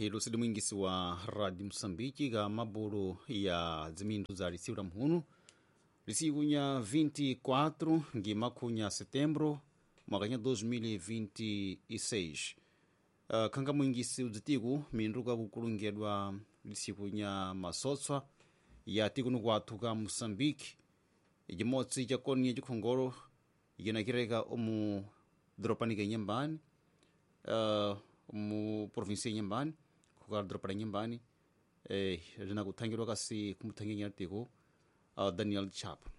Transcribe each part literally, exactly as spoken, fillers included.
Hilusidi mwingisi wa Radio Msambiki ga mabulu ya dzimindu za lisiku la mhunu lisiku nya vinte e quatro ngimakhunya setembro mwaka nya dois mil e vinte e seis. Uh, khanga mwingisi udzitiku mindu kakukulungedwa lisiku nya masotswa ya tikunu kwathu ka Mosambiki ijimotsi chakoni chikhongolo yenakireka omu dropanika nyambani uh, mu provinsia ya Inhambane kukala dropa la Inhambane eh rina kuthangirwa kasi kumuthanginya tiko uh, Daniel Chapo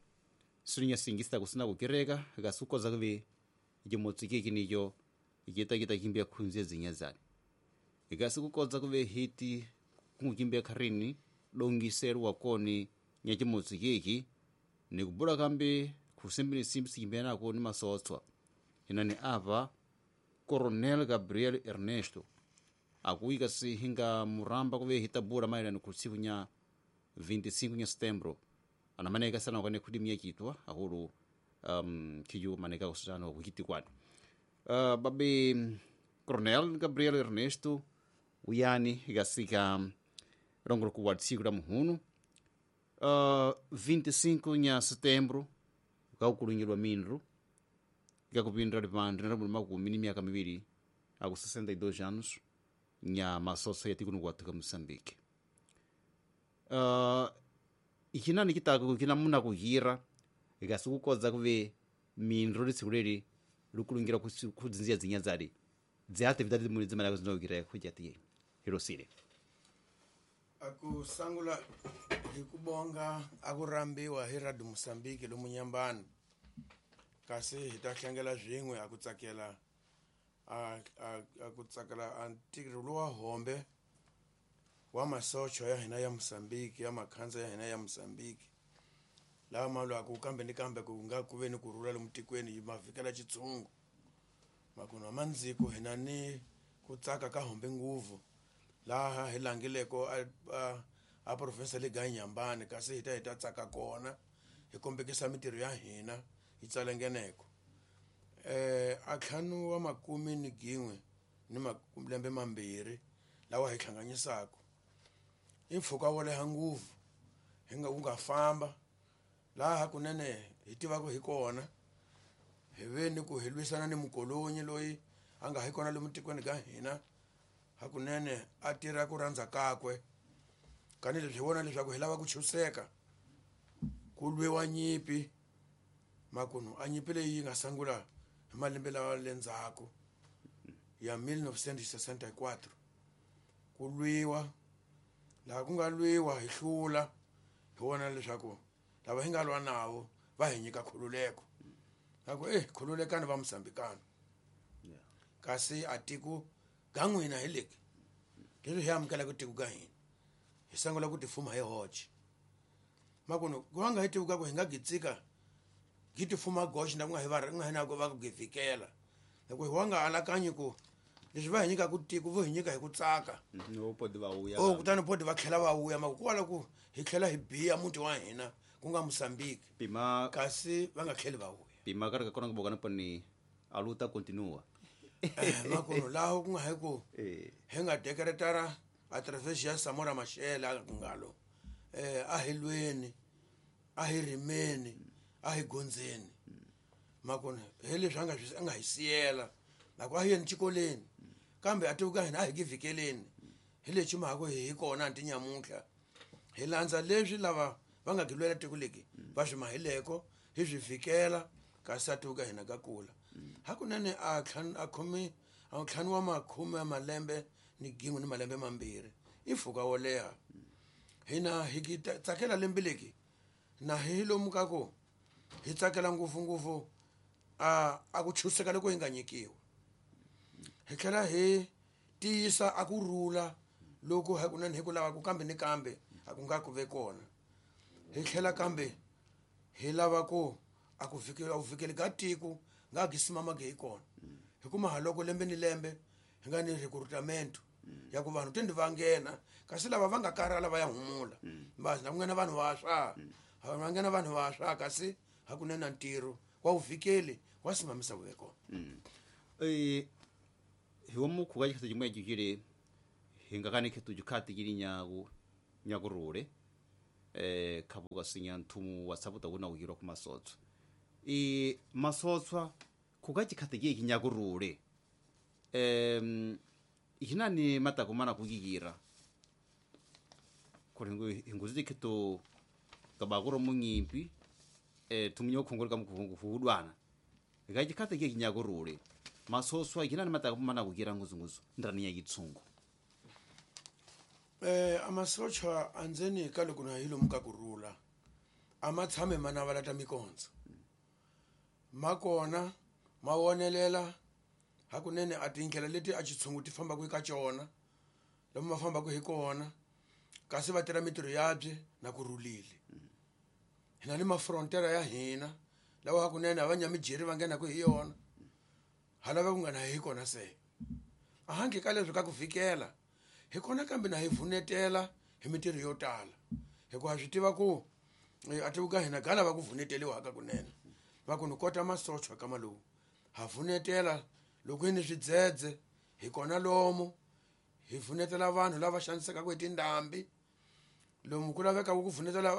sirinya singista kusina kukireka kasukoza kuve ijimotsi kiki nicho ikita kita kimbia khunzia zinyazani ikasi kukodza kuve hiti kungukimbia kharini dongiseru koni nyachimotsi kiki nikubula kambi kusimbini simbi sikimbia nako ni masotswa inani apa Coronel Gabriel Ernesto akuika si hinga muramba kuve hitabura mairani kusiku nya vinte e cinco nya setembro anamaneka sana wakane kudimia kitwa ahuru um, kiyu maneka kusana kukiti kwani uh, babi Coronel Gabriel Ernesto uyani gasika rongro kuwa tsiku la muhunu uh, vinte e cinco nya setembro kaukulungilwa mindru ikakupindra lipandre na makumi ni miaka miwiri aku sessenta e dois anos nya masosa ya tikunu kwathu ka Moçambique. Uh, ikinani kitaka kina muna kuhira ikasukukodza kuve mindru lisiku leli lukulungira kudzinzia dzinyadzali dziatividade muli dzimalako zinokira kujati hirosile akusangula hikubonga akurambiwa hi Radio Mosambiki lomu Nyambani kasi hi ta hlangela swin'we a ku tsakela a a ku tsakela a ntirho lowa hombe wa masocho ya hina ya Mosambiki ya makhanza ya hina ya Mosambiki lawa ma lwaku kambe ni kambe ku nga ku ve ni kurhula lomu tikweni hi mavikela xitshungu makunwa mandziko hina ni ku tsaka ka hombe nguvu laha hi langileko a a, a province le ga Inhambane kasi hi ta hi ta tsaka kona hi kombekisa mintirho ya hina hi tsalengeneko eh a ntlhanu wa makumi ni gin'we ni malembe mambirhi lawa hi hlanganisaka i mpfhuka wo leha nguvu hi nga wu nga famba laha kunene hi tivaka hi kona hi ve ni ku hi lwisana ni mukolonyi loyi a nga hi kona lomu tikweni ka hina hakunene a tirha ku rhandza kakwe kanileswi hi vona leswaku hi lava ku chuseka ku lwiwa nyimpi makunu a nyimpi leyi yi nga sungula hi malembe lawa le ndzhaku ya mil novecentos e sessenta e quatro ku lwiwa laha ku nga lwiwa hi hlula hi vona leswaku lava hi nga lwa navo va hi nyika khululeko aku eh khululekani va Mosambikana kasi a tiko ga n'wina hi leki leswi hi amukelaka tiko ka hina hi sungula ku tifuma hi hoxe makunu ku va nga hi tiko ka ku hi nga gitsika gi tifuma goxe na ku nga hi va nga hi na ku va ku givikela loko hi wa nga alakanyi ku leswi va hi nyikaka tiko vo hi nyika hi ku tsaka no podi va vuya o kutani podi va tlhela va vuya mako kwala ku hi tlhela hi biya muti wa hina ku nga Mosambiki pima kasi va nga tlheli va vuya pima ka kona ku bokana pani a luta continua eh makuno laho ku nga hi ku hi nga dekeretara a través ya Samora Machel a ku ngalo eh a hi lweni a hi rimeni a hi gondzeni makona hi leswi a nga swi a nga hi siyela loko a hi yeni xikolweni kambe a tiko ka hina a hi givikeleni hi lexi mhaka hi hi kona anti nyamuntlha hi landza leswi lava va nga gilwela tiko leki va swi mahileko hi swi fikela kasi a tiko ka hina ka kula hakunene a ntlhanu a khomi a ntlhanu wa makhume ya malembe ni gin'we ni malembe mambirhi i mpfhuka wo leha hina hi tsakela lembe leki na hi lomu ka ku hi tsakela ngopfungopfu a a ku chuseka loko hi nga nyikiwa hi tlhela hi tiyisa a ku rhula loko hakunene hi ku lava ku kambe ni kambe a ku nga ku ve kona hi tlhela kambe hi lava ku a ku fikela ku fikeli ka tiko nga gi simamaki hi kona hikuma ha loko lembe ni lembe hi nga ni recruitment ya ku vanhu tende va nghena kasi lava va nga karhala va ya humula basi na ku nghena vanhu vantshwa va nghena vanhu vantshwa kasi hakunene ntirho wa vuvikeli wa simamisa vuveko eh hi wa mukhuva xikhathi xin'we xi hingakani khetu jukhati kili nyaku nyakurule eh khabuka sinya nthumu wa sabuta kuna kuyirwa ku masotswa i masotswa kukachikhati ki kinyakurule em ihinani matakumana kukikira kuringu inguzi khetu kabakuro munyimpi eh tumunyo khongoleka mukuhungu hudwana ikachikhati ki kinyakurule masoswa ihinani matakumana kukira nguzunguzu ndrani ya yitsungu eh amasotsha andzeni ka loko na hilo mukakurula amatshame mana va lata mikondzo makona mawonelela hakunene a tindlela leti a xitshungu ti fambaka eka cona lomu ma fambaka hi kona kasi va tirha mitirho yabye na ku rhulile hina ni mafrontera ya hina lawa hakunene a va nyamijeri va nghenaka hi yona ha lava ku nga na hi kona se a handle ka leswi ka ku fikela hi kona kambe na hi vunetela hi mitirho yo tala hikuva swi tiva ku a tiku ka hina ga lava ku vuneteliwaka kunene va ku ni kota masochwa ka malowu ha vunetela loko hi ni swidzedze hi kona lomu hi vunetela vanhu lava xanisekaka hi tindhambi lomu ku lavekaka ku vunetela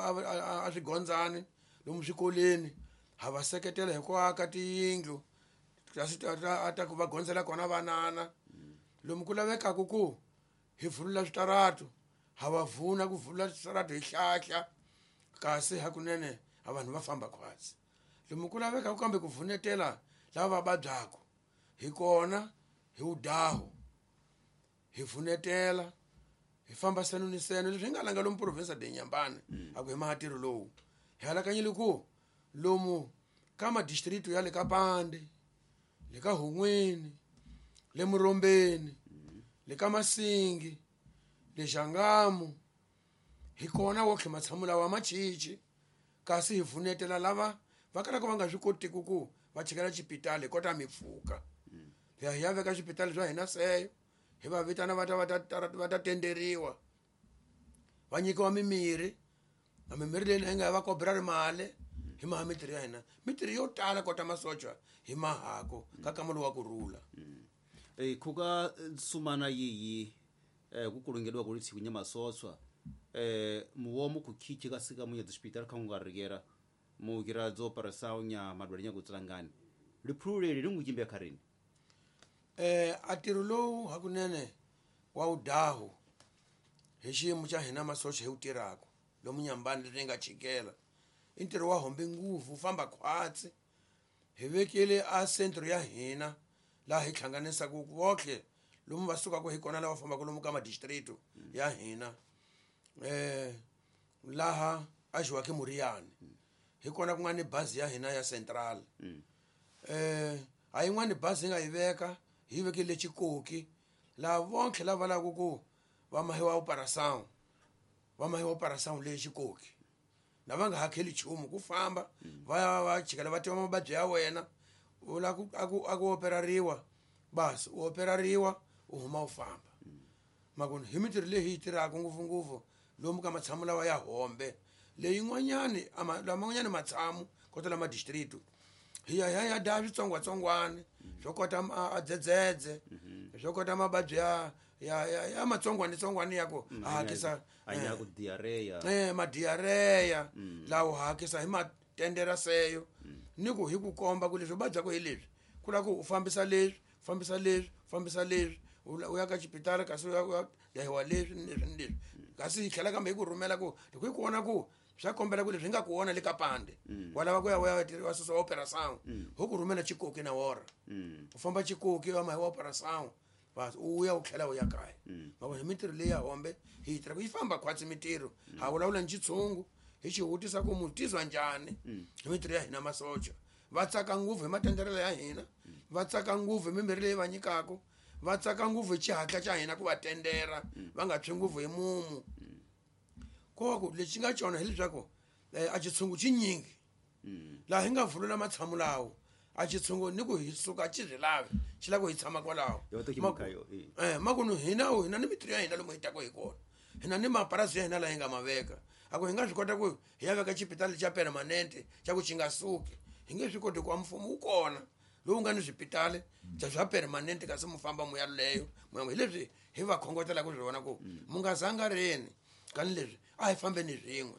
a swigondzani lomu swikolweni ha va seketela hi ku aka tiyindlu kasi a ta ku va gondzela kona vanana lomu ku lavekaka ku hi vulula switaratu ha va vuna ku vulula switaratu hi hlahla kasi hakunene a vanhu va famba khwatsi lomu ku lavekaka kambe ku vunetela lava va vabyaka hi kona hi wudaho hi vunetela hi famba seno ni seno leswi hi nga langa lomu province de Nyambane a ku hi mahatirho lowu hi halakanyile ku lomu ka madistrict ya le ka Pande le ka Hungwini le Murombeni le ka Masingi le Xangamu hi kona wotlhe matshamu lawa machichi kasi hi vunetela lava va kalaka va nga swi kotiku ku va chikela xipitali hi kota mipfuka hi ya hi ya veka swipitali swa hina seyo hi va vitana va ta va ta va ta tenderiwa va nyikiwa mimirhi na mimirhi leyi hi nga va kobra ri mali hi maha mitirho ya hina mitirho yo tala kota masocha hi mahako ka kamalo wa ku rhula eh khuka sumana yiyi eh ku kulungeliwa ku litshiku nyamasoswa eh muwomo ku khichi ka sika munya hospital kha nga rikera mugira dzo operation nya madwali nya kutsangani liphululeli lingu kharini eh atirho lowu hakunene wa wudaho hi xiyimo xa hina masocha hi wu tirhaka lomu Nyambani leri nga chikela i ntirho wa hombe nguvu wu famba khwatsi hi vekile a centro ya hina laha hi hlanganisaka votlhe lomu va sukaka hi kona lava fambaka lomu ka madistrict ya hina eh laha a Joaquim Muriani hi kona ku nga ni bazi ya hina ya central eh a yin'wani bazi hi nga yi veka hi vekile Chikoki laha vontlhe lava lavaka ku va mahiwa operation va mahiwa operation leyi Chikoki na va nga hakheli nchumu ku famba va ya va chikela va tiva mavabyi ya wena u lava ku a ku a ku operariwa basi u operariwa u huma u famba makoni hi mitirho leyi hi yi tirhaka ngopfungopfu lomu ka matshamu lawa ya hombe leyin'wanyani laman'wanyani matshamu kota lama district hi ya hi ya daya switsongwatsongwana swo kota a dzedzedze swo kota mavabyi ya ya ya ya matsongwanitsongwana ya ku hakisa anya ku diarrhea eh madiarrhea lawo hakisa hi matendera seyo ni ku hi ku komba ku leswi vabyaka hi leswi ku lava ku u fambisa leswi fambisa leswi fambisa leswi u ya ka xipitali kasi u ya dahiwa leswi ni leswi ni leswi kasi hi tlhela kambe hi ku rhumela ku loko hi ku vona ku swa kombela ku leswi hi nga ku vona le ka Pande wa lava ku ya wa ya wa susa operation ho ku rhumela Chikoki na wora u famba Chikoki wa mahi wa operation basi u ya u tlhela u ya kaya ma vona mitirho leyi ya hombe hi yi tirha ku yi famba khwatsi mitirho ha vulavula ni xitshungu hi xi vutisa ku mu tizwa njhani hi mitirho ya hina masocha va tsaka ngopfu hi matenderelo ya hina va tsaka ngopfu hi mimirhi leyi va nyikaka va tsaka ngopfu hi xihatla xa hina ku va tendera va nga tshwi ngopfu hi mumu ko va ku lexi nga cona hileswaku a xitshungu xi nyingi laha hi nga vulula matshamu lawo a xitshungu ni ku hi suka xi swi lavi xi lava ku hi tshama kwalaho eh makunu hina hina ni mitirho ya hina lomu hi taka hi kona hina ni mapurasi ya hina laha hi nga ma veka a ku hi nga swi kota ku hi ya veka xipitali xa permanente xa ku xi nga suki hi nge swi koti ku mfumo wu kona lowu nga ni swipitali bya swa permanente kasi mu famba mu ya leyo mu hi leswi hi va khongotela ku swona ku mu nga zanga reni kani leswi a hi fambeni swin'we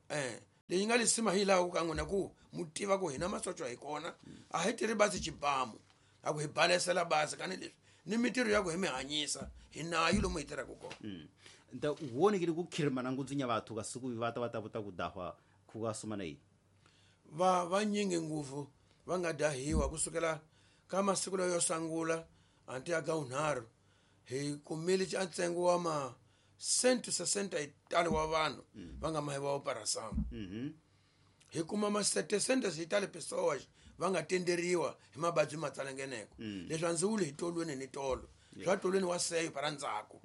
eh leyi nga lisima hi laha ku ka n'wina ku mu tiva ku hina masocha hi kona a hi tirhi basi xibamu a ku hi balesela basi kani leswi ni mintirho ya ku hi mi hanyisa hi nayo lomu hi tirhaka kona nta wonekile ku khirimana ngudzunya vathu kasiku vata va ta vuta ku dahwa ku ka sumana yi va vanyingi ngopfu va nga dahiwa kusukela ka masiku layo yo sungula anti ya gaunharhu hi kumile a ntsengo wa ma cento sessenta e talo wa vanhu va nga mahiwa operação hi kuma ma setecentos e talo pessoas va nga tenderiwa hi mavabyi ma tsalangeneko leswi a ndzi wuli hi tolweni ni tolo swa tolweni wa seyo para ndzhaku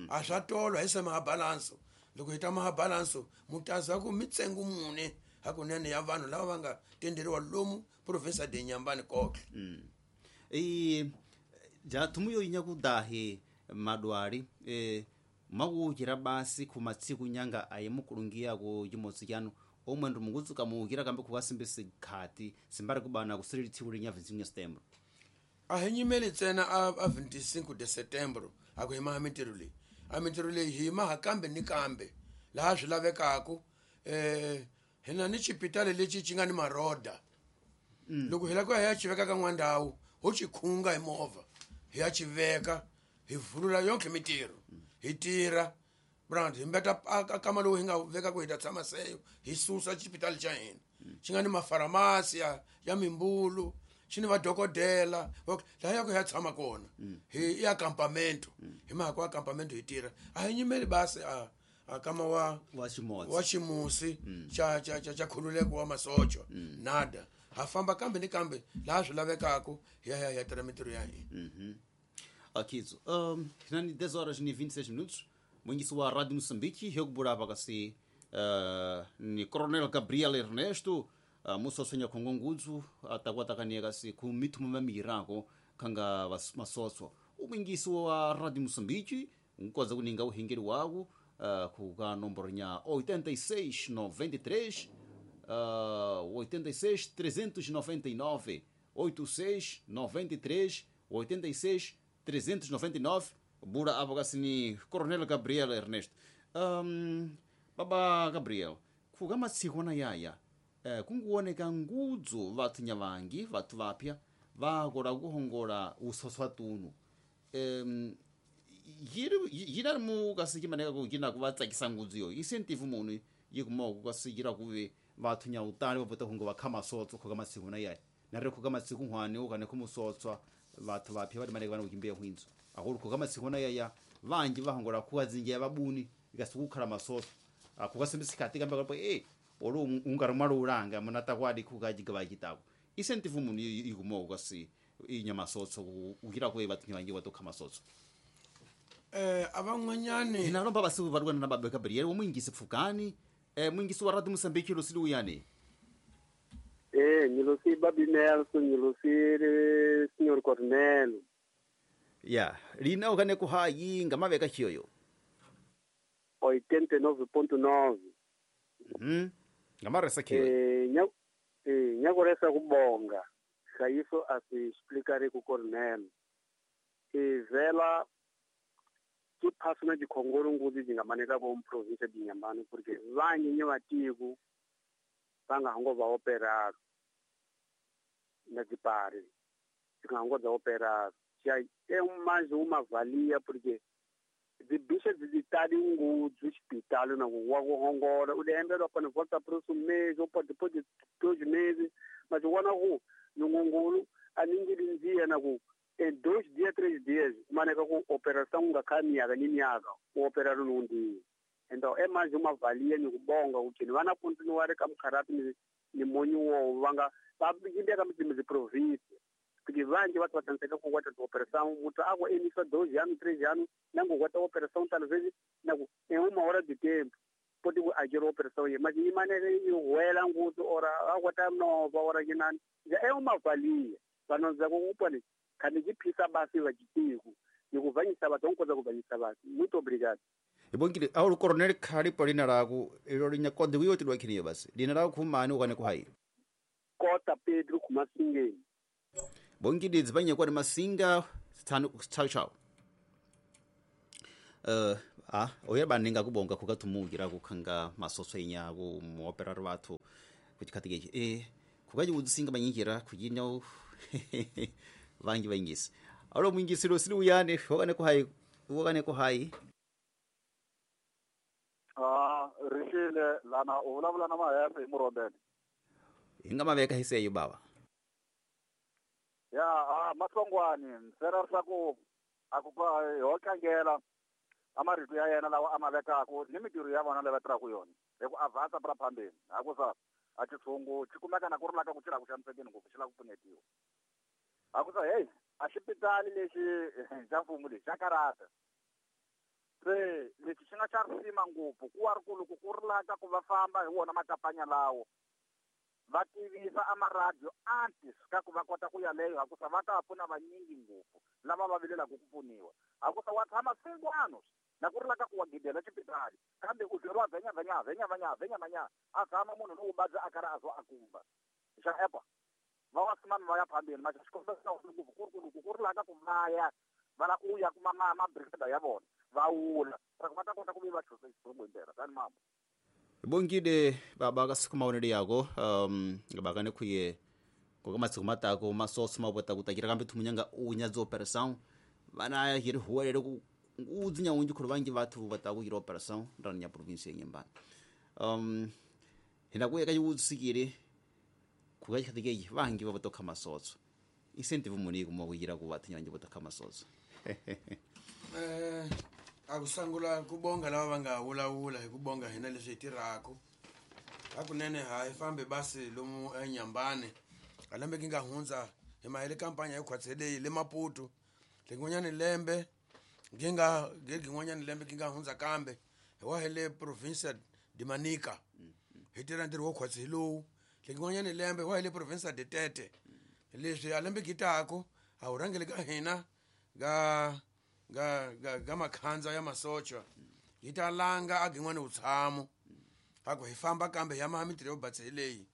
a swa tolo hi se maha balanso loko hi ta maha balanso mutaza ku mitsengo mune hakunene ya vanhu lava va nga tenderiwa lomu province de Inhambane kohle e ja thumu yo inya ku dahi madwali e makuwukira basi khumatsiku nyanga aye mukulungiya ku chimotsi chanu omwe ndi mukutsuka muwukira kambe khukasimbe sikhati simbari kubana kusirili tsiku linya vinte e cinco de setembro a hi nyimeli ntsena a a vinte e cinco de setembro a ku hi maha mintirho leyi a mintirho leyi hi maha kambe ni kambe laha swi lavekaku eh hina ni xipitali lexi xi nga ni maroda loko hi lava ku ya hi ya xi veka ka n'wandhawu ho xi khunga hi movha hi ya xi veka hi vulula yonke mintirho hi tirha brand hi mbeta a kama lowu hi nga veka ku hi ta tshama seyo hi susa xipitali xa hina xi nga ni mafaramasi ya ya mimbulu xi ni vadokodela laha ya ku hi ya tshama kona hi i acampamento hi mhaka wa acampamento hi tirha a hi nyimeli basi a a kama wa wa ximotsi wa ximusi xa xa xa xa khululeko wa masocha nada ha famba kambe ni kambe laha swi lavekaka hi ya hi ya tirha mintirho ya hina Akizo um hinani dez horas ni vinte e seis minutos mwingisi wa Radio Moçambique hekubulapa kasi uh, ni Coronel Gabriel Ernesto uh, musosonya khongongudzu atakuatakania kasi ku mithumu mamirako khanga masoso umwingisi wa Radio Moçambique nkoza kuninga uhingeli waku uh, kuka nomboro nya oitenta e seis noventa e três uh, oitenta e seis trezentos e noventa e nove oitenta e seis noventa e três oitenta e seis trezentos e noventa e nove bura apo kasi ni Coronel Gabriel Ernesto. Um, baba Gabriel kuka matsiku na yaya eh, kunguoneka ngudzu vathu nyavangi vathu vapya vakola kuhongola usoswa tunu um, yiri yina mu kasi kimaneka ku yina ku va tsakisa ngudzu yo incentive munhu yi kuma ku kasi yira kuve vathu nya utali va pota hungo va kha masotso khuka matsiku na yaya na ri khuka matsiku hwani u kane khumusotswa vathu vapya va timaneka vana kuchimbiya hwindzo akulu khuka matsiku na yaya vanji va hongola khuka dzinja vabuni ikasi kukhala masotso akhuka simbisikati kambe kapo eh olu ungari mwalulanga munatakwadi khuka chigava chitako incentive munhu yi kuma kasi inya masotso ukira kuve vathu nya vanji va tokha masotso eh aban'wanyani hina lomba basiku varikwana na baba Gabriel wo mwingisi pfukani eh mwingisi wa Radio Moçambique lo siluyani eh ngilosi babi Nelson ngilosi Senhor Cornel ya lina ukane ku hayi ngamaveka chiyoyo oitenta e nove ponto nove mhm ngamaresa khiyo eh nya eh nyakoresa kubonga hlayiso asi explicare ku Cornel e vela ke phasuna dikhongolo ngudzi dzi nga maneka ko province de Inhambane porque vanyi vatiku va nga hango va operado na dzipari dzi nga hango dza operado já é mais uma valia porque dzibicha dzitali ngudzi hospital na wa ku hongola u lembelwa pana volta próximo mês ou depois de dois meses mas wana ku nungungulu aningilinzia na ku em dois dias, três dias, maneka ku operação nga kha miaka ni miaka, u operado num dia. Então é mais uma valia ni kubonga kuti vana continuar ka mukharati ni ni monyi wo vanga va yindeka mdzimi dzi province. Porque vanji vatu vatanzeka ku kwata operação, mutu ako emisa dois anos, três anos, nango kwata operação talvez naku em uma hora de tempo. Pode agir operação aí, mas imaneka i wela ngutu ora akwata nova ora kinani. É uma valia. Vanonza kukupani khani chiphisa basi vachitiku nikuvanyisa vatu onkoza kuvanyisa vatu. Muito obrigado. Ibongile aulu Coronel khali lina laku ilo linya kodi wiyo tilwa khiniyo basi lina laku khumani ukane kuhayi Kota Pedro kumasingeni bongile dzipanye kwani masinga tano chao chao Uh, ah, oya baninga kubonga kukathumukira kukhanga masoso inyaku muoperari vathu kuchikhatikeci e kukachiwudzisinga manyinjira kujinya vangi vaingisi alo mwingisiro sili uyane wakane kuhai wakane kuhai ah rixile lana u vulavula na Mahefe hi Murhobele hi nga maveka hiseyo baba ya ah mahlongwani ntsena leswaku a ku ho tlangela a marito ya yena lawa a ma vekaku ni mintirho ya vona leyi va tirhaka yona hi ku avansa pra phambeni hakusa a xitshungu xi kumeka na ku ri laka ku xi lava ku xanisekeni ngopfu xi lava ku pfunetiwa hakusa heyi a xipitali lexi xa mfumo lexi xa karata se lexi xi nga xa risima ngopfu ku wa ri ku loko ku ri laka ku va famba hi wona makapanya lawo va tivisa a maradiyo antis ka ku va kota ku yaleyo hakusa va ta pfuna vanyingi ngopfu lava va vilelaka ku pfuniwa hakusa wa tshama singwano na ku ri laka ku wa gidela xipitali kambe u byeriwa vhenya vhenya vhenya vhenya vhenya vhenya a tshama munhu lowu vabya a karhi a zwa a kumba xa epa va wa simani va ya phambeni maxa xikombelo xa ngopfu ku ri ku loko ku ri laka ku va ya va lava ku ya kuma ma mabrigada ya vona va wula ku va ta kota ku ve va chusa xitshungu hi ndlela tani mama bongile baba ka siku maonelo yako um ngabakane khuye koka matsiku matako masoso mabota kutakira kambe thumunyanga unya dzi operação vana hiri huwelele ku udzinya unji khulu vangi vathu vataku hiri operação ndani ya province ya Nyembani um hina kuya ka yiwutsikile kuka chikhatikeyi vangi va votokha masotso incentive muni kuma kuyira ku vathu nyanji votokha masotso eh akusangula kubonga lava va nga wulawula hi ku bonga hina leswi hi tirhaka hakunene ha hi fambe basi lomu eNyambane a lembe ki nga hundza hi mahele kampanya yo khwatse leyi le Maputo lin'wanyani lembe ngi nga gin'wanyani lembe ki nga hundza kambe hi wa hele provincia de Manica hi tirha ntirho wo khwatse hi lowu lin'wanyani lembe hi wa hele provincia de Tete leswi a lembe ki tako a wu rhangele ka hina ga ga ga ga makhandza ya masocha yi ta langa a gin'wana vutshamo a ku hi famba kambe ya maha mintirho yo batse hi leyi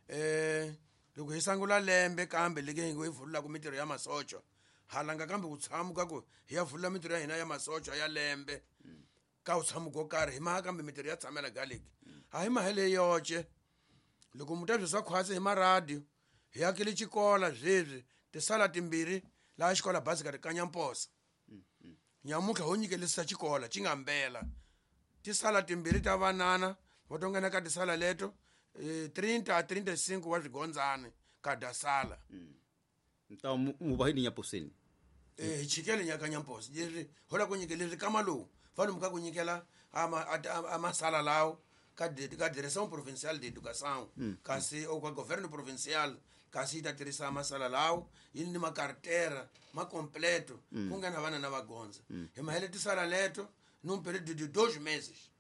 eh loko hi sangula lembe kambe leke hi ngo hi vulaka mintirho ya masocha ha langa kambe vutshamo ka ku hi ya vula mintirho ya hina ya masocha ya lembe ka vutshamo ko karhi hi maha kambe mintirho ya tshamela galeki a hi mahele yoce loko muta byi swa khwatsi hi maradiyo hi akile xikola sweswi tisala timbirhi laha xikola bazi ka Kanyamposa nyamutlha ho nyikelisa xikola xi nga mbela tisala timbirhi ta vanana va to nghena ka tisala leto trinta a trinta e cinco wa swigondzane ka dasala nta mu va hi Nyaposeni eh hi chikele nya Kanyamposa leswi ho la ku nyikela kama lowu va lomu ka ku nyikela ama amasala lawo ka ka direção provincial de educação kasi ou ka governo provincial kasi yi ta tirhisa masala lawo yi ni makartera ma completo ku nga na vana na vagonza hi mahele tisala leto num período de dois meses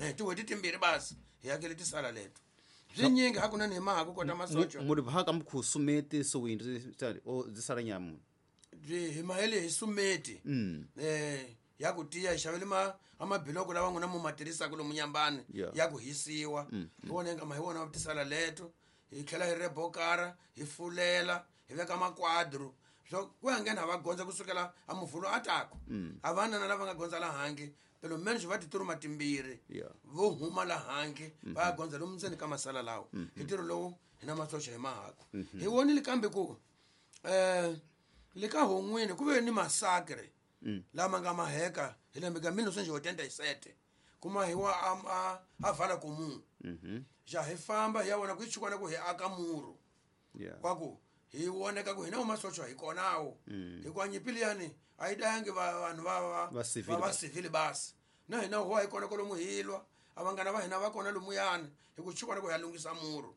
eh tin'hweti timbirhi basi hi hakele tisala leto swi nyingi hakunene hi maha ku kota masocha muri vhaka mukhu sumeti sowindzi o dzisala nyamu byi hi mahele hi sumeti eh ya ku tiya hi xavele ma amabiloko lawa n'wina mu ma tirhisaka lomu Nyambani ya ku hisiwa hi wona hi nga ma hi wona tisala leto hi tlhela hi rebokara hi fulela hi veka makwadro swo ku ya nghena va gondza kusukela a muvhulo atako a vana na lava nga gondza la handle pelo menos va tituruma timbirhi vo huma la handle va ya gondza lomu ndzeni ka masala lawo hi ntirho lowu hi na masocha hi mahako hi vonile kambe ku eh le ka hon'wini ku ve ni massacre lama nga maheka hi lembe ka mil novecentos e oitenta e sete kuma hi wa a a vala comum ja hi famba hi ya vona ku hi chukwana ku hi aka muru kwa ku hi voneka ku hina masocha hi konawo hikuva nyimpi liyani a yi dayangi vanhu va va va civil basi na hina huwa hi kona kwalomu hi lwa a vanghana va hina va kona lomuyani hi ku chukwana ku hi ya lunghisa muru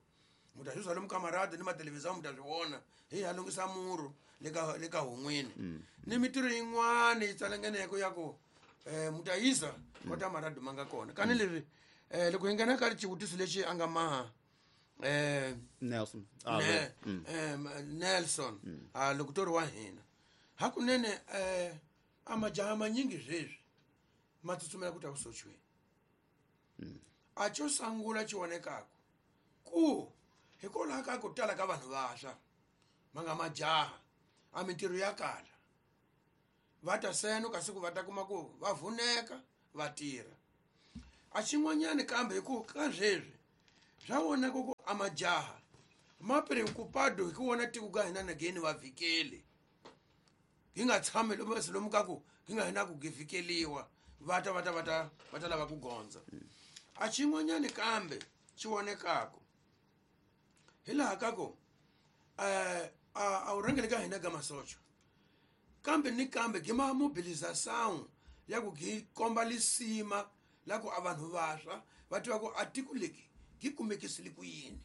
mu ta swi zwa lomu ka maradiyo ni mathelevhizani mu ta swi vona hi ya lunghisa muru le ka le ka hon'wini ni mintirho yin'wana yi tsalangeneko ya ku um mu ta yisa kota maradiyo ma nga kona kani leswi um loko hi nghena ka xivutiso lexi a nga maha eh Nelson ah, mm. eh Nelson mm. ah loko tori wa hina hakunene eh amajaha manyingi sweswi ma tsutsumela ku ta kusochweni mm. a xo sungula xi vonekaka ku hikwalaho ka ku tala ka vanhu vantshwa ma nga majaha a mintirho ya kala Va ta seno kasi ku va ta kuma ku va vuneka va tirha. A xin'wanyana kambe hi ku ka sweswi swa vonaka ku a majaha ma preocupado hi ku vona tiko ka hina nageni va vhikeli. Hi nga tshami lomu lomu ka ku hi nga hina ku vhikeliwa va ta va ta va ta va ta lava ku gondza. A xin'wanyana kambe xi vonekaka hi laha ka ku eh a wu rhangeli ka hina ka masocha kambe ni kambe gi ma mobilisation ya ku gi komba lisima la ku a vanhu vaswa va tiva ku a tiko leki gi kumekisile ku yini.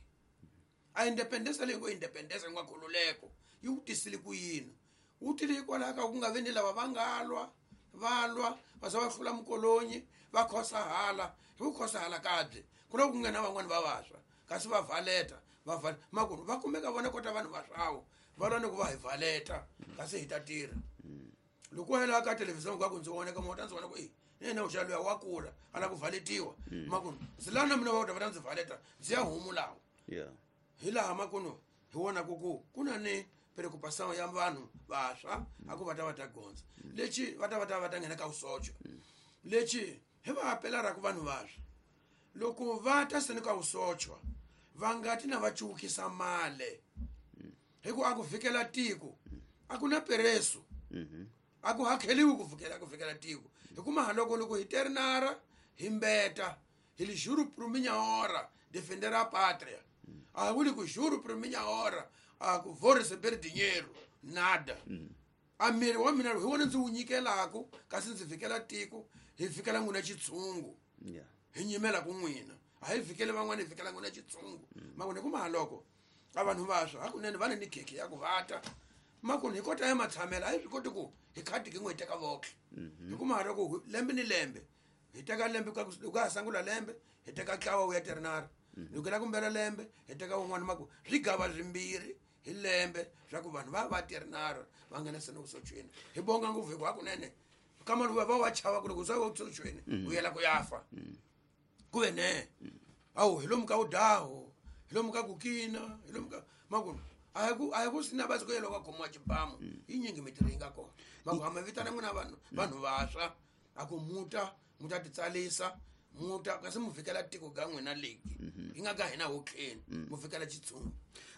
A independence leyi ngo independence nga khululeko yi wu tisile ku yini. Wu tile hikwalaho ka ku nga vi ni lava va nga lwa va lwa va za va hlula mukolonyi va khosahala hi ku khosahala kabye ku na ku nghena van'wani va vaswa kasi va valeta va val makunu va kumeka vona kota vanhu va swawo va lwa ni ku va hi valeta kasi hi ta tirha. Loko hela ka television ka ku ndzi voneka mota ndzi vona ku e yena u xa luya wa kula a la ku valetiwa makunu ndzi lava na mina va ta va ta ndzi valeta ndzi ya humulawo. Yeah. Hi laha makunu hi vona ku ku ku na ni preocupação ya vanhu vaswa a ku va ta va ta gondza lexi va ta va ta va ta nghena ka vusocha lexi hi va apela ra ku vanhu vaswa loko va ta seni ka vusocha va nga ti na va cukisa male hi ku a ku fikela tiko a ku na pereso a ku hakheliwi ku fikela ku fikela tiko hi kuma haloko loko hi ternara hi mbeta hi li juro por minha hora defender a pátria a vuli ku juro por minha hora a ku vou receber dinheiro nada. A miri wa mina hi wona ndzi wu nyikelaku kasi ndzi fikela tiko hi fikela n'wina xitshungu. Yeah. Hi nyimela ku n'wina a hi fikele van'wana hi fikela n'wina xitshungu. Makuni hi kuma haloko a vanhu vaswa hakunene va ni ni khekhe ya ku vata makuni hi kota ya matshamela a hi swi koti ku hi khati ki n'we hi teka vohle. Hi kuma haloko lembe ni lembe hi teka lembe ka loko ha sungula lembe hi teka ntlawa wu ya ternara loko la kumbela lembe hi teka wun'wana maku swigava swimbirhi hi lembe swa ku vanhu va va ternara va nghena seni vusochweni hi bonga ngopfu hi ku hakunene kama luwa va wa chava ku loko swa vusochweni u yela ku ya fa ku ve ne awu hi lomu ka wudaho hi lomu ka kukina hi lomu ka maku a hi ku a hi ku sina basi ku yela ka khomiwa xibamu yi nyingi mitirho yi nga kona maku hama vitana n'wina vanhu vanhu vaswa a ku muta muta titsalisa muta kasi mu fikela tiko ga n'wina leki yi nga ka hina hotleni mu fikela xitshungu.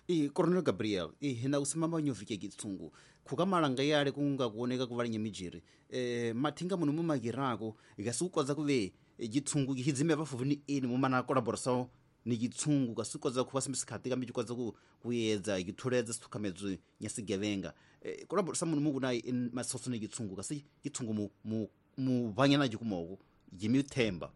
I Coronel Gabriel i hina kusimama nyovike kitsungu khukamalanga yale kunga kuoneka kuvalinye mijiri eh mathinga muno mumagirako ikasukodza kuve jitsungu hidzime vafuvu ni eni mumana collaboration ni jitsungu kasukodza kuva simsikati kambi jikodza ku kuyedza ikithuledza sithukamedzo nyasigevenga eh collaboration muno mukuna masoso ni jitsungu kasi jitsungu mu mu mu vanyana jikumoko jimithemba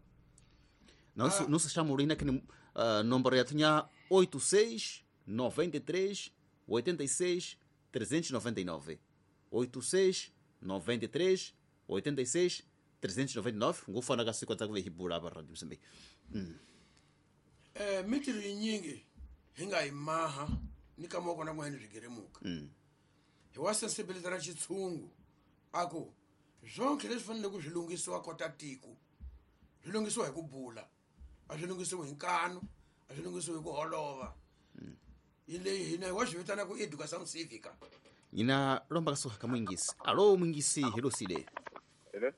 nosso nosso chamo ina que uh, número ya tinha oito seis noventa e três oitenta e seis trezentos e noventa e nove oito seis noventa e três oitenta e seis trezentos e noventa e nove ngufana ka siku tsa hibula ba radio Mozambique. Eh mitirho yinyingi hi nga yi maha ni ka moko na n'wene swigeremuka. Hi wa sensibility ra xitshungu a ku zonke leswi fanele ku swi lunghisiwa kota tiko swi lunghisiwa hi ku bula a swi lunghisiwi hi nkanu a swi lunghisiwi hi ku holova. Yi leyi hina wa swi vitana ku education civica. Ina lomba kasuka ka mwingisi. Alo mwingisi helosile. Hello.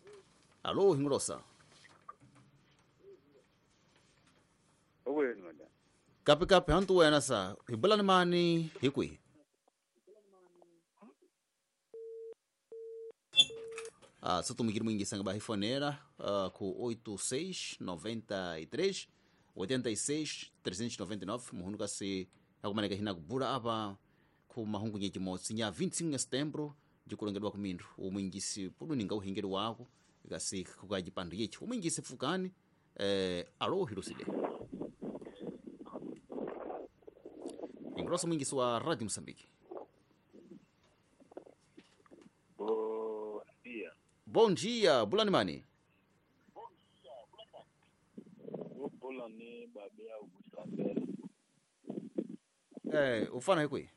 Alo hingolosa. Oweni madam. Kapi kapi hantu wena sa hibulani mani hikwi. Ah, só tumigir mwingisi nga bahifonera uh, ku oito seis noventa e três oitenta e seis trezentos e noventa e nove muhunu kasi akumaneka hina kubula apa ku mahungu nyechimotsi nya vinte e cinco de setembro jikulongedwa kumindru umwingisi puluninga uhingeli wako kasi kukajipandu yechi umwingisi fukani eh, alo hirusile ingrosa mwingisi wa Radio Mozambique. Bom dia. Bom dia, bulani mani. Bulani babea ubusambele. Eh, ufana hikwi?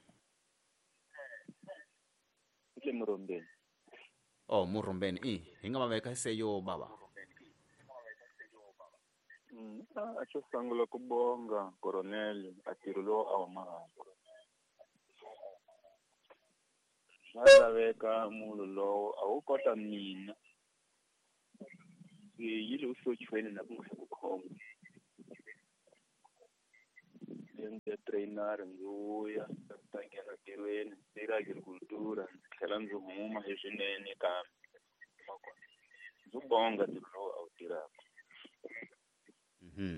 Ile Murombeni. Oh, Murombeni. I, hinga mabeka hiseyo baba. Mm, acho sangula kubonga Coronel atirulo awama. Swa laveka munhu lowo a wu kota mina ndzi yile usochweni na ku nga ku khoma ndzi ya trainer ndzi vuya ta nghena ntirhweni tirha agricultura ndzi tlhela ndzi huma hi swinene kambe ndzi bonga ntirho lowu a wu tirhaka.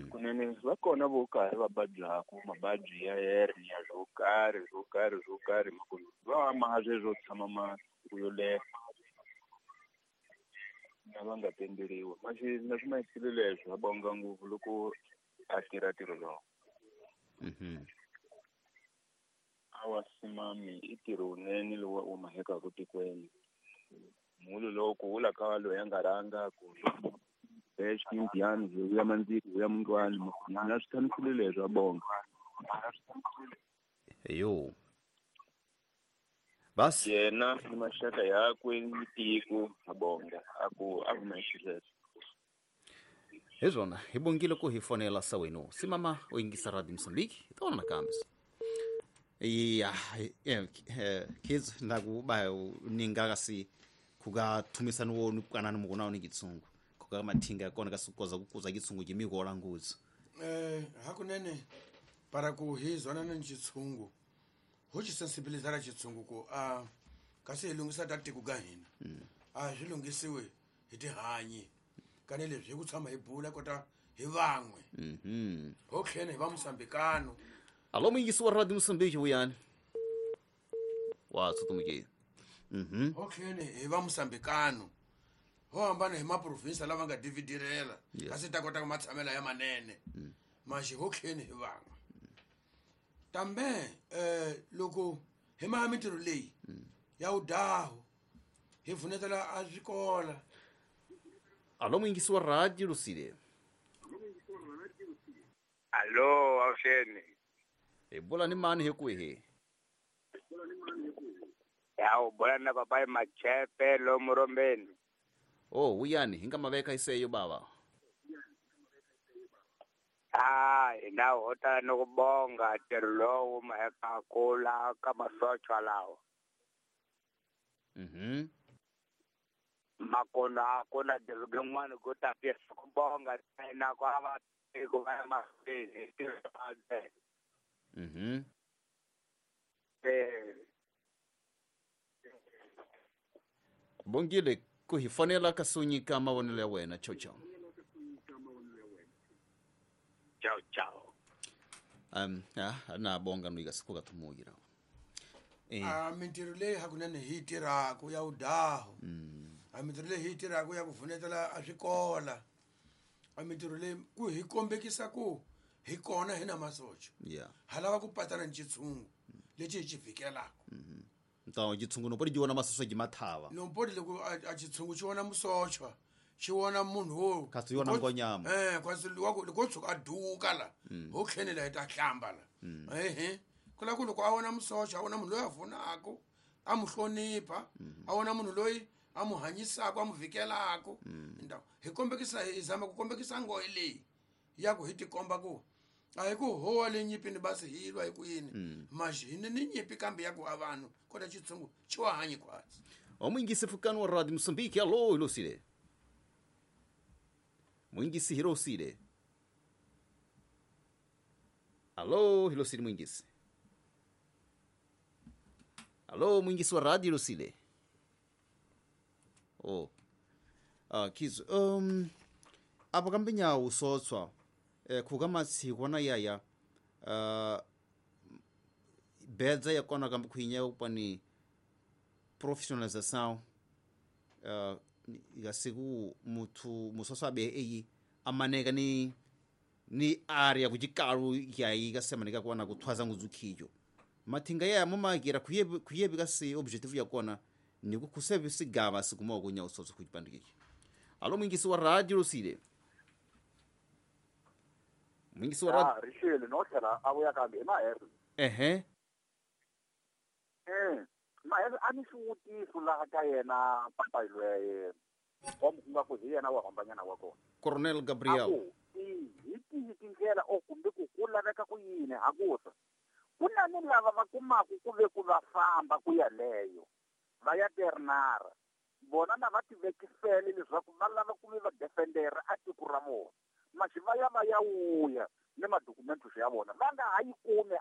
Kunene va kona vo karhi va vabyaku mavabyi ya hernia swo karhi swo karhi swo karhi va ma sweswo tshama masiku yo leha na va nga tenderiwa maxi na swi mahisile leswo va bonga ngopfu loko a tirha ntirho lowu. Awa simami i ntirho wunene lowu u mahekaka tikweni munhu lowu ku vula ka loyi a nga rhanga ku Indiani ya mandziko ya mundwani na swi tshamisile leswo a bonga. Yo basi yena ni maxaka yakwe ni tiko a bonga a ku a humexileswo hi swona hi bongile ku hi fonela sa wenu simama u yingisa Radio Mozambique hi tona nakambe ya kids na ku ba ninga kasi kuga thumisana wonu kanani mukona ni kitsungu kuga mathinga ya kona kasi kukoza kukuza kitsungu jimikola nguzi eh hakunene para ku hi zona ni xitshungu ho xi sensibilizara xitshungu ku a kasi hi lunghisa ta tiko ga hina a swi lunghisiwe hi tihanyi kane leswi hi ku tshama hi bula kota hi van'we mhm ho tlhela hi va Mosambikano. Alo muyingisi wa Radio Mozambique vuyani wa tsutumukile mhm ho tlhela hi va Mosambikano ho hambana hi maprovinsi lava nga dividirela kasi ta kota ku matshamela ya manene maxi ho tlhela hi van'we tambe eh loko hi maha mintirho leyi ya udaho hi vunetela a swikola. Alo muyingisi wa Radio Lucile. Alo awusheni hi bula ni mani hi kwihi? Ya u bula na papai Machepe lo Murombeni. Oh uyani hi nga maveka iseyo baba. Ah hina ho ta no ku bonga ntirho lowu maheka kula ka masochwa lawa. Mhm makona kona ntirho ku ta fisa ku bonga na ku ava tiko va mahlweni ntirho mhm eh bongile ku hi fonela ka sunyika mavonelo ya wena. Chau chau. Chau chau. Um ya na bonga no ikasikuka thumugira. Eh a mintirho leyi hakunene hi tirhaka ya udaho a mintirho leyi hi tirhaka ya ku vunetela a swikola a mintirho leyi ku hi kombekisa ku hi kona hi na masocha yeah ha lava ku patana ni xitshungu lexi hi xi vhikelaka. Ntawo xitshungu no podi ji vona masocha ji mathava no podi loko a xitshungu xi vona musocha xi vona munhu wo kasi yona ngonyama eh kasi wa ku loko tshuka a duka la ho tlhenela hi ta hlamba la ehe kula ku loko a vona musocha a vona munhu loyi a vunaka a mu hlonipha a vona munhu loyi a mu hanyisaka a mu vhikelaka ndhawu hi kombekisa hi zama ku kombekisa nghohe leyi ya ku hi tikomba ku a hi ku howa le nyipini basi hi lwa hi ku yini maxi hi ni nyipi kambe ya ku a vanhu kota xitshungu xi wa hanyi khwatsi. Omuyingisi fukani wa Radio Mozambique. Alo Hilosile muyingisi Hilosile. Alo Hilosile muyingisi. Alo muyingisi wa Radio Hilosile. Oh ah kizo um apo kambinya usotswa eh khuka matshikwa na yaya uh bedza ya kona kambe khwinya upani professionalisation uh ya siku muthu musosa be eyi amaneka ni ni area kujikalu ya yiga semanika kona kuthwaza nguzukhijo mathinga ya mumagira khuye khuye bikasi objective ya kona ni ku kusebe sigaba sikuma kunya usotso kujipandikiki. Alo mwingisi wa Radio Lucile. Mwingisi wa Radio ah rishele no tlhela a vuya kambe ma her ehe eh ma her a ni xivutiso laha ka yena papa lweye wa nga ku hi yena wa hambanyana wa kona Coronel Gabriel hi tihi tindlela o kumbe ku ku laveka ku yini hakusa ku na ni lava va kumaka ku ve ku va famba ku ya leyo Va ya ternara vona na va tivekisele leswaku va lava ku vi va defendera a tiko ra vona maxi va ya va ya wuya ni madokumentos ya vona va nga ha yi kumi.